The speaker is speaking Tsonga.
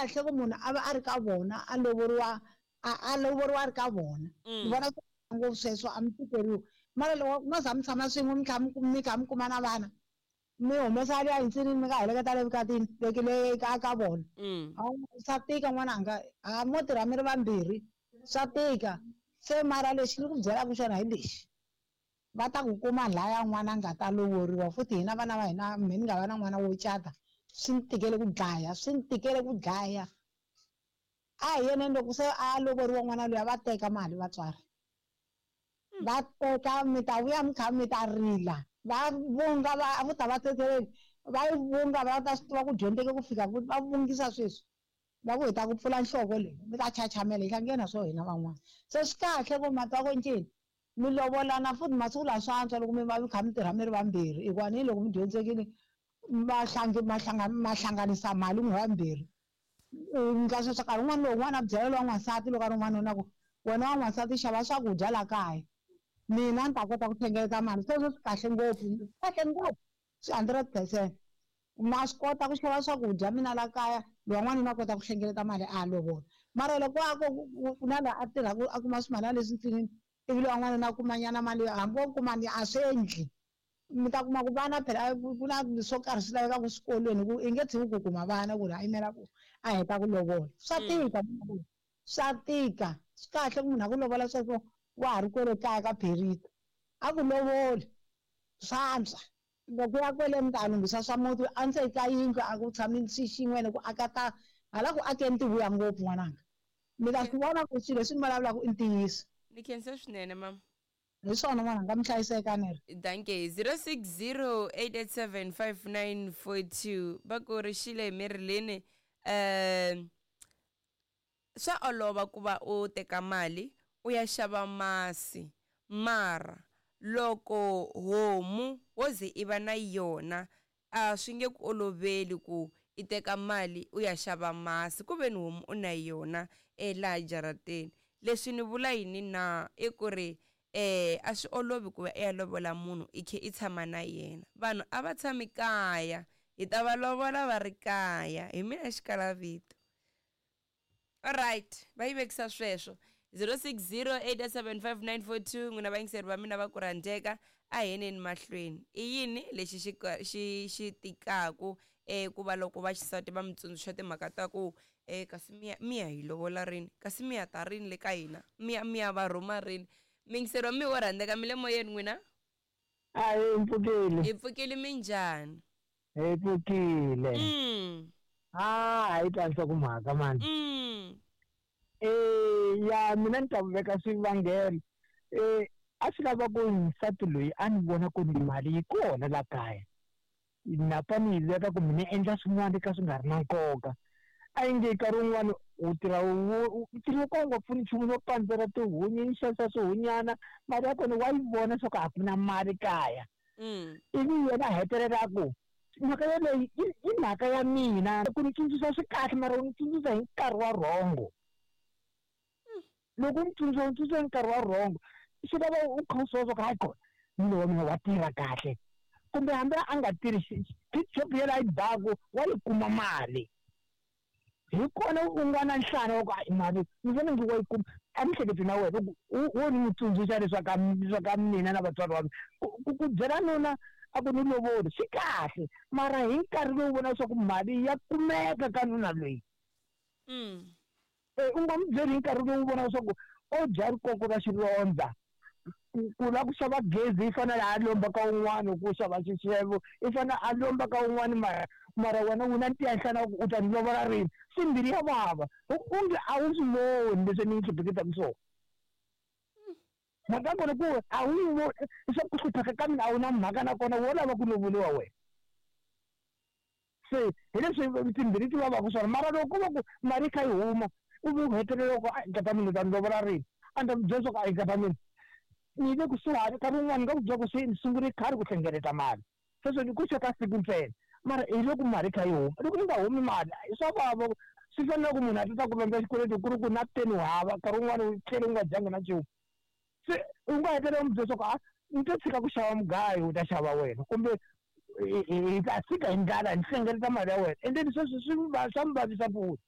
kahle ku munhu a va a ri ka vona a lovoriwa a lovoriwa a ri ka vona. Ni vona ngopfu sweswo a mi tikeriwi. Mara loko mo za mi tshama swin'we mi tlhela mi kha mi kuma na vana mi humesa le yinsinini mi nga heleketa le vukatini le le ka ka vona. Swa tika n'wananga a mo tirha mi ri vambirhi swa tika. Se mara lexi ni ku byelaka xona hi lexi. Va ta ku kuma laya n'wana a nga ta lovoriwa futhi hina vana va hina me ni nga va na n'wana wo cata swi ni tikele ku dlaya swi ni tikele ku dlaya. A hi yeneni loko se a lovoriwa n'wana luya va teka mali vatswari. Va teka mi ta vuya mi kha mi ta rila va vunga va a vo ta va tsetseleli va yi vunga va ta swi tiva ku dyondzeke ku fika va vungisa sweswi. Va ku hi ta ku pfula nhloko leyi mi ta chachamela hi hlangene swo hina van'wana. Se swi kahle ku mati wa ku ncini mi lovolana futhi masiku lawa swa antswa loko mi va mi kha mi tirha mi ri vambirhi hikuva ni loko mi dyondzekile ma hlanganisa mali n'wi vambirhi. Ndla sweswo nkarhi wun'wani loko n'wana a byela lowa n'wansati loko a ri n'wanuna ku wena wa n'wansati xava swakudya la kaya mina ni ta kota ku hlengeleta mali sweswo swi kahle ngopfu kahle ngopfu swi 100%. Ma swi kota ku xava swakudya mina la kaya lowa n'wanuna a kota ku hlengeleta mali a lovola. Mara loko a ku na laha a tirhaka a kuma swimalana leswi ntsinini ivi lowa n'wanuna a kuma nyana mali hambi wo kuma ni a swi endli. Mi ta kuma ku vana phela ku na swo karhi swi lavekaka swikolweni ku i nge tshiki ku kuma vana ku ri a yimela ku a heta ku lovola. Swa tika swa tika swi kahle ku munhu a ku lovola sweswo wa ha ri kwele kaya ka Pherita. A ku lovoli swa antswa. Loko ya kwele mi ta lunghisa swa muti a ndzeni ka yindlu a ku tshami xi xin'we ene ku aka ta hala ku akeni ti vuya ngopfu n'wananga. Mi ta swi vona ku swilo leswi ni vulavulaka i ntiyiso. Ni khensa swinene mama. Hi swona n'wananga mi hlayiseka ni ri. Dankie 0608875942 va ku ri xile Marilyn swa olova ku va u teka mali u ya xava masi mara loko homu wo ze i va na yona a swi nge ku oloveli ku i teka mali u ya xava masi ku ve ni homu u na yona laha jarateni. Leswi ni vula yini na i ku ri a swi olovi ku va i ya lovola munhu i khe i tshama na yena. Vanhu a va tshami kaya hi ta va lovola va ri kaya hi mina xikalavito. Alright va yi vekisa sweswo 0608875942 n'wina vayingiseri va mina va ku rhandzeka a hi yeneni mahlweni. I yini lexi xi xi xi tikaku ku va loko vaxisati va mi tsundzuxa timhaka ta ku kasi mi ya hi lovola rini kasi mi ya ta rini le ka hina mi ya mi ya va rhuma rini. Muyingiseri wa mina wo rhandzeka mi le moyeni n'wina? A hi pfukile. Hi pfukile minjhani? Hi pfukile. Ah, hi twa nhlokomhaka mani. Ya mina ni ta veka swivangelo. A swi lava ku nsati loyi a ni vona ku ni mali yi kona la kaya. Napa ni yi veka kumbe ni endla swin'wana ka swi nga ri na nkoka. A yi nge nkarhi wun'wani u tirha ntirho wo ka wu nga pfuni nchumu no pandzela tihunyi ni xavisa swihunyana mali ya kona wa yi vona swa ku a ku na mali kaya. Ivi yena a hetelela a ku mhaka yeleyo i mhaka ya mina ku ni tsundzuxa swi kahle mara u ni tsundzuxa hi nkarhi wa rhongo. Loko u ni tsundzuxa u ni tsundzuxa hi nkarhi wa rhongo swi lava u kha u swi vona swa ku hayi kona nuna wa mina wa tirha kahle kumbe hambi a nga tirhi job yeleyo a yi baku wa yi kuma mali. Hi kona u nga na nhlana wa ku hayi mali ni vona ngi wa yi kuma a ni hleketi na wena wo ni n'wi tsundzuxa leswaku mina na vatswari va mina ku byela nuna a ku ni lovoli swi kahle mara hi nkarhi lowu vona leswaku mali ya kumeka ka nuna loyi. U nga n'wi byeli hi nkarhi lowu vona leswaku o dya rikoko ra xilondza ku lava ku xava gezi i fanele a lomba ka un'wana ku xava xixevo i fanele a lomba ka un'wana mara mara wena u na ntiya nhlana wa ku u ta ni lovola rini swi mbilu ya vava onge a wu swi voni leswi ni hluphekisaka swona. Mhaka ya kona ku a wu yi voni leswaku ku hlupheka ka mina a wu na mhaka na kona wo lava ku lovoriwa wena. Se hi leswi timbirhi ti vavaka swona mara loko ko va ku mali yi kha yi huma u ve u hetelela ku a nkata mina u ta ni lovola rini a ni ta ku byela leswaku a nkata mina ni le kusuhani nkarhi wun'wani ni nga ku byela ku se ni sungule khale ku hlengeleta mali sweswo ni ku xeka siku ntsena mara hi loko mali yi kha yi huma loko yi nga humi mali swa vava swi fanele ku munhu a ta ku lomba xikweleti ku ri ku na peni u hava nkarhi wun'wani u tlhele u nga dyanga na nchumu se u nga hetelela u n'wi byela leswaku a ni to tshika ku xava mugayo u ta xava wena kumbe hi ta fika hi ndlala ni hlengeleta mali ya wena and then sweswo swi swa mi vavisa futhi.